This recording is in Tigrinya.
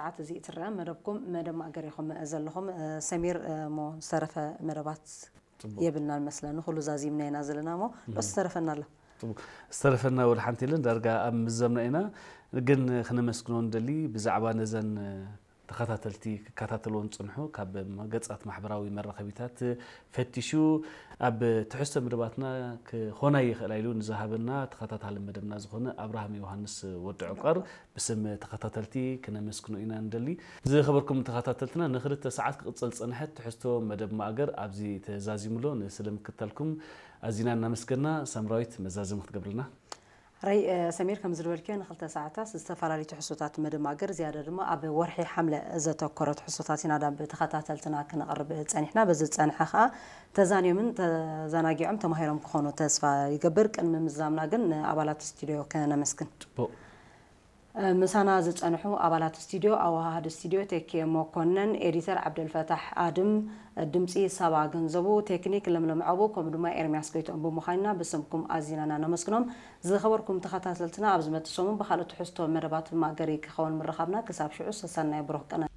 ሰዓት እዚ እትረአ መደብኩም መደብ ማእገር ኢኹም ዘለኹም። ሰሚር፣ እሞ ዝተረፈ መደባት የብልናን መስለኒ፣ ኩሉ ዛዚምና ኢና ዘለና። እሞ ዶ ዝተረፈና ኣሎ? ዝተረፈና ወላ ሓንቲ የለን፣ ዳርጋ ኣብ ምዘምና ኢና። ግን ክነመስግኖ ንደሊ ብዛዕባ ነዘን ተኸታተልቲ ክከታተልዎ ዝጽንሑ ካብ ገጻት ማሕበራዊ መራኸቢታት ፈቲሹ ኣብ ትሕዝቶ መደባትና ክኾና ይኽእላ ኢሉ ንዝሃበና ተኸታታሊ መደብና ዝኾነ ኣብርሃም ዮሃንስ ወዲ ዕቋር ብስም ተኸታተልቲ ክነመስግኖ ኢና ንደሊ። ዝኸበርኩም ተኸታተልትና፣ ንክልተ ሰዓት ክቕጽል ዝጸንሐ ትሕዝቶ መደብ ማእገር ኣብዚ ተዛዚሙ ኣሎ። ንስለ ምክትታልኩም ኣዚና እናመስገና። ሳምራዊት፣ መዛዘሚ ክትገብርልና? ራይ ሰሚር፣ ከም ዝበልክዮ ንክልተ ሰዓታት ዝተፈላለዩ ትሕዝቶታት መደብ ማእገር፣ ዝያዳ ድማ ኣብ ወርሒ ሓምለ ዘተኮረ ትሕዝቶታት ኢና ናብ ተኸታተልትና ክነቕርብ ጸኒሕና። በዚ ዝጸንሐ ከኣ ተዛንዮምን ተዘናጊዖም ተማሂሮም ክኾኑ ተስፋ ይገብር። ቅድሚ ምዛምና ግን ንኣባላት ስቱዲዮ ከነመስግን። ጽቡቕ። ምሳና ዝጸንሑ ኣባላት ስቱዲዮ፣ ኣወሃሃዲ ስቱዲዮ ቴኬ መኮነን፣ ኤዲተር ዓብደልፈታሕ ኣድም፣ ድምጺ ሳባ ገንዘቡ፣ ቴክኒክ ለምለም ዓቡ፣ ከምኡ ድማ ኤርሚያስ ጎይትኦም ብምዃንና ብስምኩም ኣዚና ኢና ነመስግኖም። ዝኸበርኩም ተኸታተልትና፣ ኣብ ዝመጽእ ሰሙን ብኻልእ ትሕዝቶ መደባት ማእገሪ ክኸውን ምርኻብና። ክሳብ ሽዑ ሰሰናይ ብሩኽ ቅነ።